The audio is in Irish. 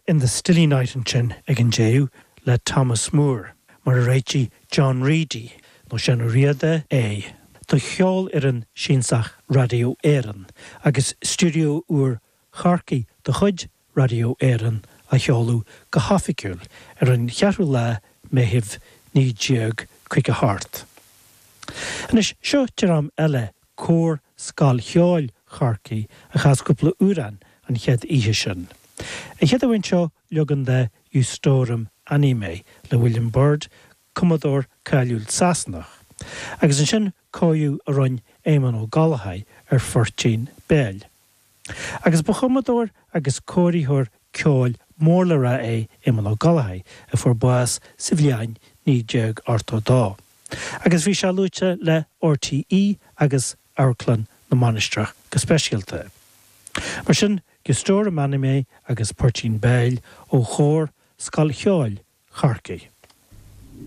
In the Stilly Night ansin ag an deireadh le Thomas Moore, mar a réitigh John Reidy, nó Seán Ó Riada, é, do Cheolfhoireann Siansach Raidió Éireann agus stiúideo úr Chorcaí de chuid Raidió Éireann á sheoladh go hoifigiúil ar an cheathrú lá Meitheamh 1958. Anois, seo dream eile, Cór Scoil Cheoil Chorcaí a chas cúpla amhrán an chéad oíche sin. An chéad amhrán seo, leagan de Iustorum Animae le William Byrd, cumadóir cáiliúil Sasanach, agus ansin cóiriú a rinne Éamonn Ó Gallchóir ar Phoirtín Béil. Agus ba chumadóir agus cóiritheoir ceoil mór le rá é Éamonn Ó Gallchóir a fuair bás sa bhliain 1982. Agus bhí sé luaite le RTÉ agus Amharclann na Mainistreach go speisialta. Mar sin, Iustorum Animae agus Poirtín Béil ó Chór Scoil Cheoil Chorcaí.